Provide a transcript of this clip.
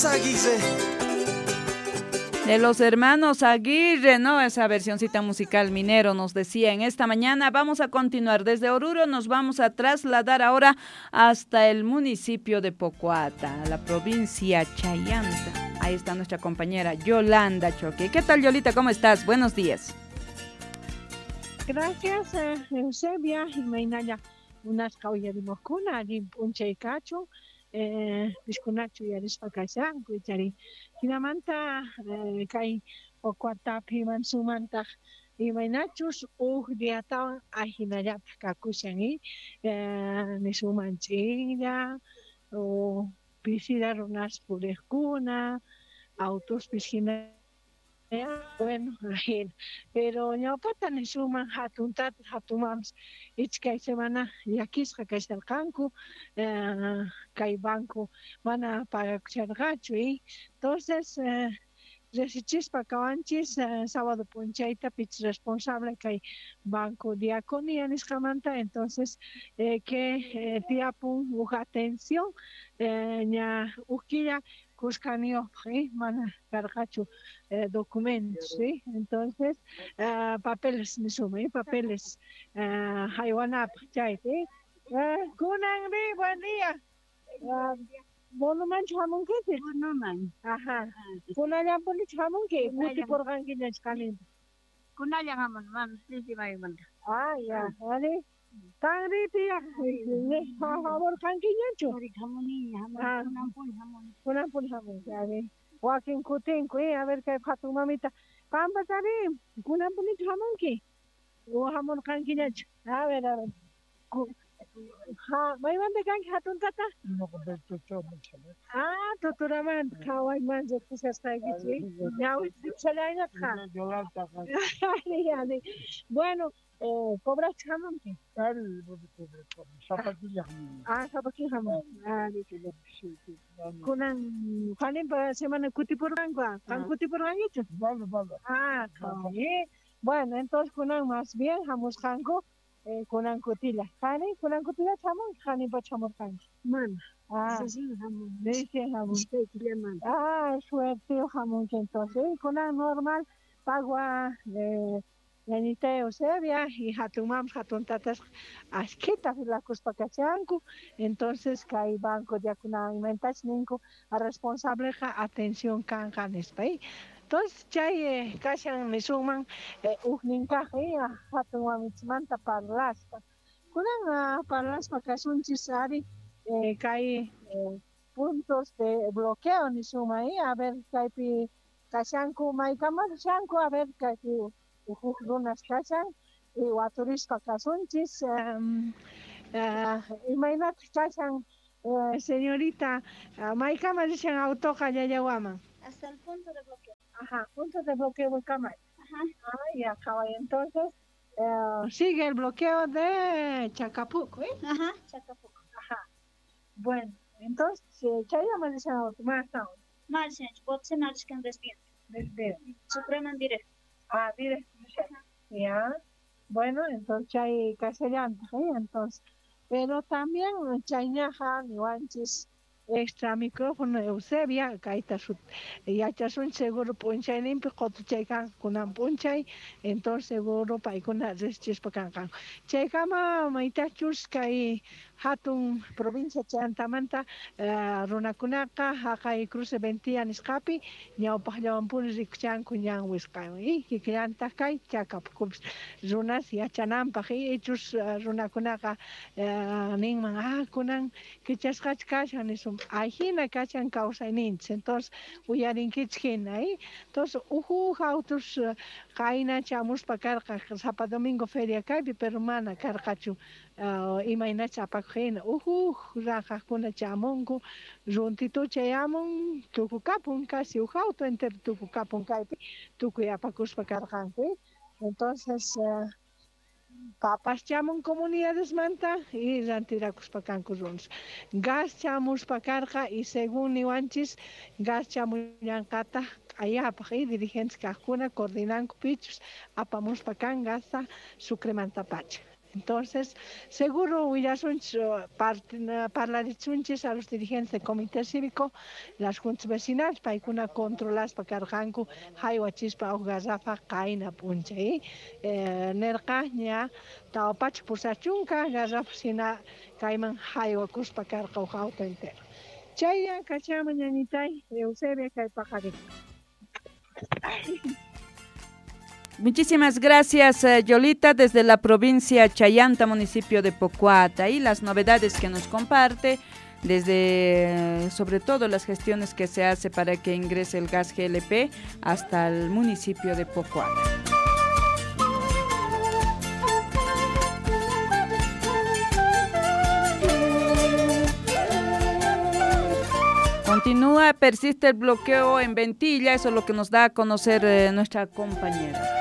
Aguirre. De los hermanos Aguirre, ¿no? Esa versioncita musical minero nos decía en esta mañana. Vamos a continuar desde Oruro, nos vamos a trasladar ahora hasta el municipio de Pocoata, la provincia Chayanta. Ahí está nuestra compañera Yolanda Choque. ¿Qué tal, Yolita? ¿Cómo estás? Buenos días. Gracias, Eusebia. Imaynalla unasqa uyarimojkuna allin p'unchay kachun. Piskunachu uyarispa kashanku ichari. Jinamanta kay Pocoatapi mansumantaq imaynachus uj diatawan ajinallataq kakushan nisunman ch'inlla o pisila runas puriqkuna autospis hina. Bueno, ajina. Pero ñawpata nisunman hatun tata hatun mamas ichkay semana llakisqa kasharqanku kay banco mana pagakusharqachu. Entonces resichispa kawanchis sábado p'unchayta pich responsable kay Banco Diaconía nisqamanta. Entonces que tiapun uj atención ña uj killa kuskaniyuqpaq mana karqachu documentos, ¿sí? Entonces papeles nisuma, papeles haywanapaq chayta. Kunanri, buen día. Bonomanchu hamunkichik? Bonoman. Ajá. Kunallanpunichu hamunki? Kutipurqankiñachu qaninta? Kunallan hamun, mam, Chisimaymanta. Ah, ya, vale. Qanri tiyaq hamurqankiñachu? Hamuniña, kunanpuni hamuni. Kunanpuni hamunki, a ver. Wakin kutinku, a ver kay hatun mamita. Qanpasari, kunanpunichu hamunki? O hamurqankiñachu? A ver, a ver. Maymanta kanki hatun tata? Ah, Totoramanta, qhawayman riqsishasqaykichik. Ñawisipshallayñataq. Bueno, cobraste hamunki? Ah, sapa killa hamunki. Kunan Juaninpa semana kutipurqanku, qan kutipurqankichu? Ah, bueno, entonces kunan más bien hamusqanku kunan kutilla. Qani, kunan kutilla hamunki, Juaninpachu hamurqanki? Mana. Ah, Recién hamunki. Recién hamunki. Iskay killamanta. Ah, suerte hamunki entonces. Kunan normal pagua ñañita Eusebia y hatun mamas, hatun tatas ashkhita filakuspa kachanku. Entonces kay Banco Diaconía ninku responsableqa atención kanqa nispa. Entonces chay kashan nisunman ujnin kaq hatun mamichismanta parlaspa. Kunan parlaspa kasunchis ari kay puntos de bloqueo nisunman, a ver kaypi kashanku maykama rishanku, a ver kaypi uj runas kashan y waturispa kasunchis. Imaynataq kashan señorita, maykama rishan autoqa Llallawaman? Hasta el punto de bloqueo. Ajá, punto de bloqueo kama. Ajá. Ah, ya, qhaway. Entonces sigue el bloqueo de Chacapuco, ¿eh? Ajá, Chacapuco. Ajá. Bueno, entonces chayama rishan auto, más aún. Más, Botsen arishkan desvío. Desvío. Supreman directo. Ah, directo. Ya. Bueno, entonces chay kasallanta, ¿eh? Entonces, pero también chayñaja niwanchis extra micrófono Eusebia, kayta yachasun seguro p'unchayninpi qotuchay kanqa kunan p'unchay, entonces seguro paykuna riqsichispa kanqanku. Chaykama maytachus kay hatun provincia Chayantamanta runakunaqa haqay cruce Ventilla nisqapi ñawpaqllawanpuni rikuchanku ñan wisq'aywan, kikillantaq kay Chacapucupis runas yachananpaq, ichus runakunaqa ninman, ah, kunan kichasqachu kashan nisun, ajina kashan kawsayninchis. Entonces uyarinkichik hina, Entonces uj autos qayna chamuspa karqa sapa domingo feria kaypi, pero mana karqachu imaynacha apakuq hina. Uj raqaqkuna chamunku, runtitucha chayamun, tukukapun, casi uj auto entero tukukapun kaypi, tukuy apakuspa karqanku. Entonces papas chamun comunidadesmanta y rantirakuspa kanku runas. Gas chamuspa karqa y según niwanchis gas chamullanqataq q'ayapaq, dirigentes kaqkuna coordinanku pichus apamuspa kan gasta Sucremantapacha. Entonces, seguro willasunchis parlarichunchis a los dirigentes del comité cívico, las juntas vecinales, paykuna controlaspa karqanku haywachispa uj garrafa qayna p'unchay. Nerqa ña 480 garrafa sina kayman haywakuspa karqa uj auto entero. Chaylla kachama ñañitay Eusebia kay paqarin. Muchísimas gracias, Yolita, desde la provincia Chayanta, municipio de Pocoata, y las novedades que nos comparte, desde sobre todo las gestiones que se hace para que ingrese el gas GLP hasta el municipio de Pocoata. Continúa, persiste el bloqueo en Ventilla, eso es lo que nos da a conocer nuestra compañera.